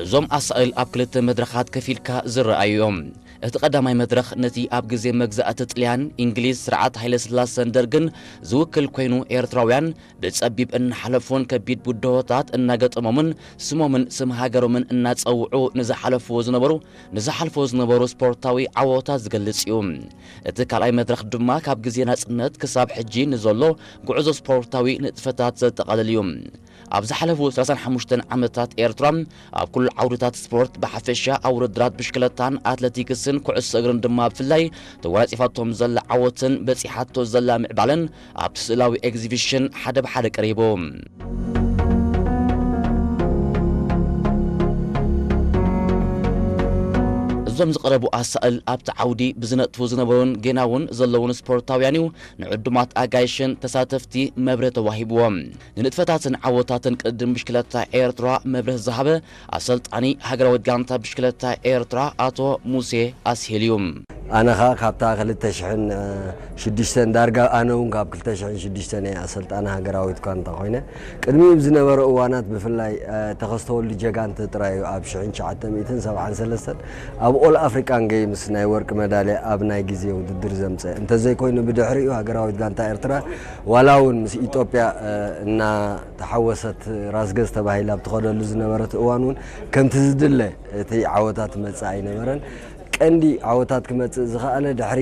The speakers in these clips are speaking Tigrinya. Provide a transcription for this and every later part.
እዞም ኣሳእል ኣብ ክልተ መድረኻት ከፊልካ ዝረኣዩ እዮም። እቲ ቀዳማይ መድረኽ ነቲ ኣብ ግዜ መግዛእቲ ጥልያን፣ እንግሊዝ፣ ስርዓት ሃይለ ስላሰን ደርግን ዝውክል ኮይኑ፣ ኤርትራውያን ብጸቢብ እናሓለፉን ከቢድ ብድሆታት እናገጠሞምን ስሞምን ስም ሃገሮምን እናጸውዑ ንዝሓለፍዎ ዝነበሩ ንዝሓልፍዎ ዝነበሩ ስፖርታዊ ዓወታት ዝገልጽ እዩ። እቲ ካልኣይ መድረኽ ድማ ካብ ግዜ ናጽነት ክሳብ ሕጂ ንዘሎ ጉዕዞ ስፖርታዊ ንጥፈታት ዘጠቓልል እዩ። ኣብ ዝሓለፉ ሰላሳን ሓሙሽተን ዓመታት ኤርትራ ኣብ ኩሉ ዓውድታት ስፖርት ብሓፈሻ ኣብ ውድድራት ብሽክለታን ኣትለቲክስን ኩዕሶ እግርን ድማ ብፍላይ ተጎናጺፋቶም ዘላ ዓወትን በጺሓቶ ዘላ ምዕባለን ኣብቲ ስእላዊ ኤግዚቢሽን ሓደ ብሓደ ቀሪቡ። እዞም ዝቐረቡ ኣሳእል ኣብቲ ዓውዲ ብዝነጥፉ ዝነበሩን ጌና እውን ዘለውን ስፖርታውያን እዩ ንዕዱማት ኣጋይሽን ተሳተፍቲ መብርህ ተዋሂብዎም። ንንጥፈታትን ዓወታትን ቅድድም ብሽክለታ ኤርትራ መብርህ ዝሃበ ኣሰልጣኒ ሃገራዊት ጋንታ ብሽክለታ ኤርትራ ኣቶ ሙሴ ኣስሄል እዩ። ኣነ ኸኣ ካብታ ክልተ ሽሕን ሽዱሽተን ዳርጋ ኣነ እውን ካብ ክልተ ሽሕን ሽዱሽተን እየ ኣሰልጣኒ ሃገራዊት ጋንታ ኮይነ። ቅድሚኡ ብዝነበረ እዋናት ብፍላይ ተኸስተ ወልዱ ጀጋንተ ጥራይ እዩ ኣብ ሽሕን ትሽዓተ ሚእትን ሰብዓን ሰለስተን ኣብ ኦል ኣፍሪካን ጌምስ ናይ ወርቂ መዳልያ ኣብ ናይ ግዜ ውድድር ዘምፀ። እንተዘይኮይኑ ብድሕሪኡ ሃገራዊት ጋንታ ኤርትራ ዋላ እውን ምስ ኢትዮጵያ እናተሓወሰት ራስገዝ ተባሂላ ኣብ ትኸደሉ ዝነበረት እዋን እውን ከምቲ ዝድለ እቲ ዓወታት መጽእ ኣይነበረን። ቀንዲ ዓወታት ክመጽእ ዝኸኣለ ድሕሪ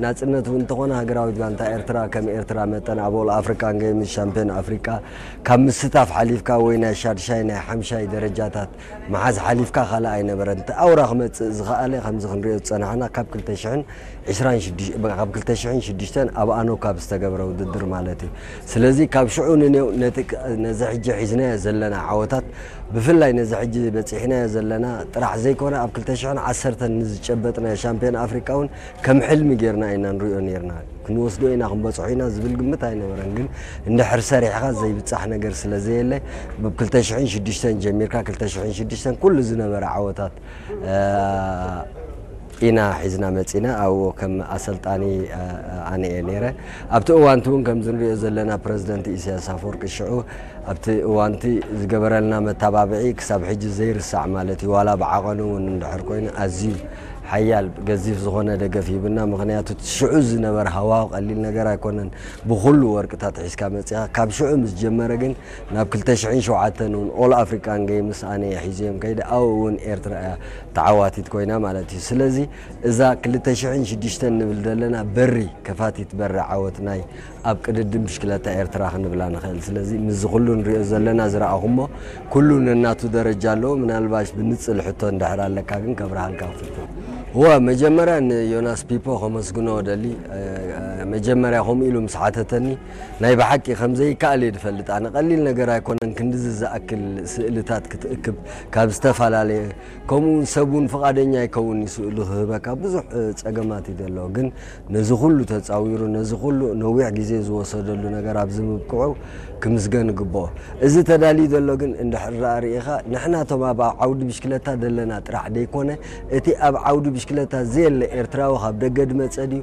ናጽነት እውን እንተኾነ ሃገራዊት ጋንታ ኤርትራ ከም ኤርትራ መጠን ኣብ ኦል ኣፍሪካን ጌምስ ሻምፒዮን ኣፍሪካ ካብ ምስታፍ ሓሊፍካ ወይ ናይ ሻድሻይ ናይ ሓምሻይ ደረጃታት መሓዝ ሓሊፍካ ካልእ ኣይነበረን። እቲ ኣውራ ክመጽእ ዝኸኣለ ከምዚ ክንሪኦ ዝጸናሕና ካብ ክልተ ሽሕን ዕስራን ሽዱሽተ ካብ ክልተ ሽሕን ሽዱሽተን ኣብ ኣኖካ ብዝተገብረ ውድድር ማለት እዩ። ስለዚ ካብ ሽዑ ንኔው ነዚ ሕጂ ሒዝናዮ ዘለና ዓወታት ብፍላይ ነዚ ሕጂ በጺሕናዮ ዘለና ጥራሕ ዘይኮነ ኣብ ክልተ ሽሕን ዓሰርተን ንዝጨበጥናዮ ሻምፒዮን ኣፍሪቃ እውን ከም ሕልሚ ጌርና ኢና ንሪኦ ኔርና። ክንወስዶ ኢና ክንበጽሖ ኢና ዝብል ግምት ኣይነበረን። ግን እንድሕር ሰሪሕኻ ዘይብጻሕ ነገር ስለ ዘየለ ብ ክልተ ሽሕን ሽዱሽተን ጀሚርካ ክልተ ሽሕን ሽዱሽተን ኩሉ ዝነበረ ዓወታት ኢና ሒዝና መጺና ኣብኡ ከም ኣሰልጣኒ ኣነ እየ ነይረ። ኣብቲ እዋንቲ እውን ከምዚ ንሪኦ ዘለና ፕረዚደንት ኢሳያስ ኣፈወርቂ ሽዑ ኣብቲ እዋንቲ ዝገበረልና መተባብዒ ክሳብ ሕጂ ዘይርሳዕ ማለት እዩ። ዋላ ብዓቐኑ እውን እንድሕር ኮይኑ ኣዝዩ ሓያል ገዚፍ ዝኾነ ደገፍ ሂብና። ምኽንያቱ እቲ ሽዑ ዝነበረ ሃዋሁ ቀሊል ነገር ኣይኮነን። ብኹሉ ወርቅታት ሒዝካ መጺኻ ካብ ሽዑ ምስ ጀመረ ግን ናብ ክልተ ሽሕን ሸውዓተን እውን ኦል ኣፍሪካን ጌምስ ኣነ እየ ሒዘዮም ከይደ ኣብኡ እውን ኤርትራ እያ ተዓዋቲት ኮይና ማለት እዩ። ስለዚ እዛ ክልተ ሽሕን ሽዱሽተን ንብል ዘለና በሪ ከፋቲት በሪ ዓወት ናይ ኣብ ቅድድም ብሽክለታ ኤርትራ ክንብላ ንኽእል። ስለዚ ምስዚ ኩሉ ንሪኦ ዘለና ዝረኣኹሞ ኩሉ ነናቱ ደረጃ ኣለዎ። ምናልባሽ ብንጽል ሕቶ እንድሕር ኣለካ ግን ከብርሃልካ ክፍቶ። እወ መጀመርያ ንዮናስ ፒፖ ከመስግኖ ደሊ መጀመርያ ከምኡ ኢሉ ምስ ሓተተኒ ናይ ብሓቂ ከምዘይከኣል እየ ዝፈልጥ። ኣነ ቀሊል ነገር ኣይኮነን ክንድዚ ዝኣክል ስእልታት ክትእክብ ካብ ዝተፈላለየ ከምኡ እውን ሰብ እውን ፍቓደኛ ኣይከውን እዩ ስእሉ ክህበካ ብዙሕ ጸገማት እዩ ዘሎ። ግን ነዚ ኩሉ ተጻዊሩ ነዚ ኩሉ ነዊሕ ግዜ ዝወሰደሉ ነገር ኣብዚ ምብቅዑ ክምስገን ይግብኦ። እዚ ተዳልዩ ዘሎ ግን እንድሕር ደኣ ርኢኻ ንሕና እቶም ኣብ ዓውዲ ብሽክለታ ዘለና ጥራሕ ደይኮነ እቲ ኣብ ዓውዲ ብሽክለታ ዘየለ ኤርትራዊ ካብ ደገ ድመጸ ድዩ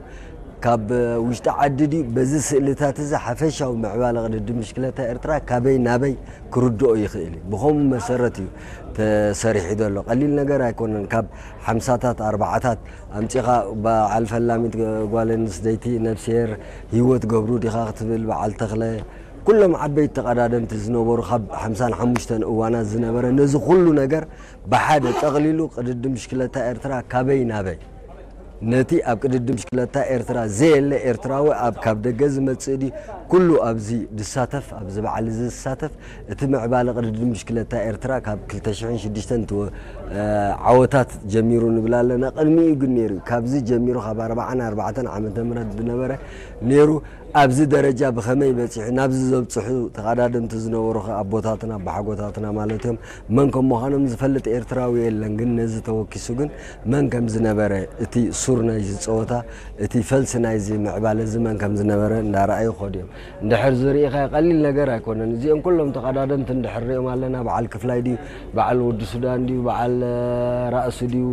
ካብ ውሽጢ ዓዲ ድዩ በዚ ስእልታት እዚ ሓፈሻዊ ምዕባለ ቅድድም ብሽክለታ ኤርትራ ካበይ ናበይ ክርድኦ ይኽእል እዩ። ብኸምኡ መሰረት እዩ ተሰሪሑ ዘሎ። ቀሊል ነገር ኣይኮነን። ካብ ሓምሳታት ኣርባዓታት ኣምጺኻ በዓል ፈላሚት ጓል ኣንስተይቲ ነብስሄር ህይወት ገብሩ ዲኻ ክትብል በዓል ተኽለ ኩሎም ዓበይቲ ተቐዳደምቲ ዝነበሩ ካብ ሓምሳን ሓሙሽተን እዋናት ዝነበረ ነዚ ኩሉ ነገር ብሓደ ጠቕሊሉ ቅድድም ብሽክለታ ኤርትራ ካበይ ናበይ ነቲ ኣብ ቅድድም ብሽክለታ ኤርትራ ዘየለ ኤርትራዊ ኣብ ካብ ደገ ዝመጽእ ድዩ ኩሉ ኣብዚ ድሳተፍ ኣብዚ በዓል እዚ ዝሳተፍ እቲ ምዕባለ ቅድድም ብሽክለታ ኤርትራ ካብ ክልተ ሽሕን ሽዱሽተን ዓወታት ጀሚሩ ንብል ኣለና። ቅድሚኡ ግን ነይሩ እዩ። ካብዚ ጀሚሩ ካብ ኣርባዓን ኣርባዕተን ዓመተ ምህረት ዝነበረ ነይሩ። ኣብዚ ደረጃ ብኸመይ በጺሑ ናብዚ ዘብጽሑ ተቐዳደምቲ ዝነበሩ ከ ኣቦታትና ኣቦሓጎታትና ማለት እዮም። መን ከም ምዃኖም ዝፈልጥ ኤርትራዊ የለን። ግን ነዚ ተወኪሱ ግን መን ከም ዝነበረ እቲ ሱር ናይዚ ጸወታ እቲ ፈልሲ ናይዚ ምዕባለ እዚ መን ከም ዝነበረ እንዳረኣዩ ይኸዱ እዮም። እንድሕር ዝርኢኻ ቀሊል ነገር ኣይኮነን። እዚኦም ኩሎም ተቐዳደምቲ እንድሕር ሪኦም ኣለና በዓል ክፍላይ ድዩ በዓል ወዲ ሱዳን ድዩ በዓል ራእሲ ድዩ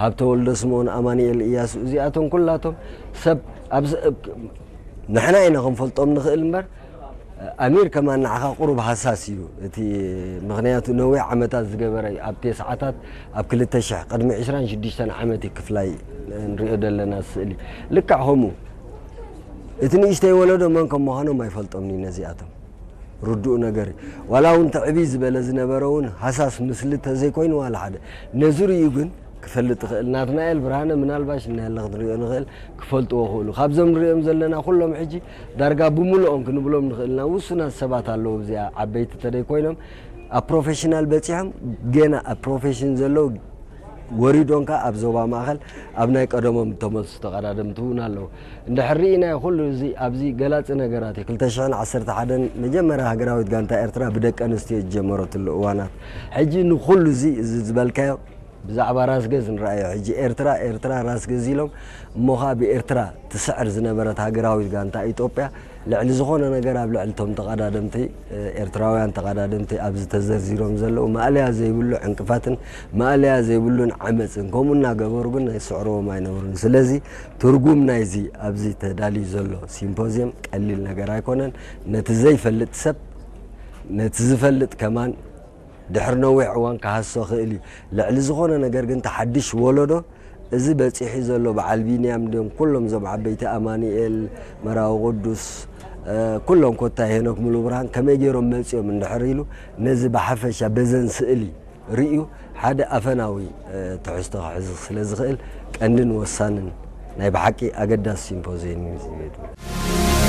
ሃብተ ወልደ ስምኦን ኣማኑኤል እያሱ እዚኣቶም ኩላቶም ሰብ ንሕና ኢና ክንፈልጦም ንኽእል እምበር ኣሚር ከማን ንዓኻ ቁሩብ ሃሳስ እዩ እቲ፣ ምኽንያቱ ነዊሕ ዓመታት ዝገበረ እዩ። ኣብ ተስዓታት ኣብ ክልተ ሽሕ ቅድሚ ዕስራን ሽዱሽተን ዓመት እዩ ክፍላይ ንሪኦ ዘለና ስእሊ። ልክዕ ከምኡ እቲ ንእሽተይ ወለዶ መን ከም ምዃኖም ኣይፈልጦምን እዩ ነዚኣቶም። ርዱእ ነገር እዩ። ዋላ እውን ትዕብይ ዝበለ ዝነበረ እውን ሃሳስ ምስሊ ተዘይኮይኑ ዋላ ሓደ ነዚ ርእዩ ግን ክፈልጥ ይኽእል። ናትናኤል ብርሃነ ምናልባሽ እናያለ ክንሪኦ ንኽእል፣ ክፈልጥዎ ክእሉ። ካብዞም ንሪኦም ዘለና ኩሎም ሕጂ ዳርጋ ብምልኦም ክንብሎም ንኽእልና ውሱናት ሰባት ኣለዉ እዚኣ ዓበይቲ ተደይ ኮይኖም ኣብ ፕሮፌሽናል በፂሖም ገና ኣብ ፕሮፌሽን ዘለዉ ወሪዶም ከኣ ኣብ ዞባ ማእኸል ኣብ ናይ ቀደሞም ተመልሱ ተቐዳደምቲ እውን ኣለዉ። እንድሕር ርኢናዮ ኩሉ እዚ ኣብዚ ገላፂ ነገራት እዩ። ክልተ ሽሕን ዓሰርተ ሓደን መጀመርያ ሃገራዊት ጋንታ ኤርትራ ብደቂ ኣንስትዮ ዝጀመረትሉ እዋናት። ሕጂ ንኩሉ እዚ፣ እዚ ዝበልካዮ ብዛዕባ ራስ ገዝ ንረኣዮ። ሕጂ ኤርትራ፣ ኤርትራ ራስ ገዝ ኢሎም እሞ ኸኣ ብኤርትራ ትስዕር ዝነበረት ሃገራዊት ጋንታ ኢትዮጵያ ልዕሊ ዝኾነ ነገር ኣብ ልዕሊ እቶም ተቐዳደምቲ፣ ኤርትራውያን ተቐዳደምቲ ኣብዚ ተዘርዚሮም ዘለዉ ማእለያ ዘይብሉ ዕንቅፋትን ማእለያ ዘይብሉን ዓመጽን ከምኡ እናገበሩ ግን ይስዕርዎም ኣይነበሩን። ስለዚ ትርጉም ናይዚ ኣብዚ ተዳልዩ ዘሎ ሲምፖዝየም ቀሊል ነገር ኣይኮነን። ነቲ ዘይፈልጥ ሰብ ነቲ ዝፈልጥ ከማን ድሕሪ ነዊሕ እዋን ክሃስሶ ክእል እዩ። ልዕሊ ዝኾነ ነገር ግን እቲ ሓድሽ ወለዶ እዚ በጺሑ ዘሎ በዓል ቢንያም ድዮም ኩሎም እዞም ዓበይቲ ኣማኑኤል፣ መራዊ ቅዱስ፣ እ፣ ኩሎም ኮታ ሄኖክ ሙሉብርሃን ከመይ ገይሮም መጺኦም እንድሕር ኢሉ ነዚ ብሓፈሻ በዘን ስእሊ ርእዩ ሓደ ኣፈናዊ፣ እ፣ ትሕዝቶ ክሕዝ ስለ ዝኽእል ቀንድን ወሳንን ናይ ብሓቂ ኣገዳሲ ሲምፖዝየም እዩ።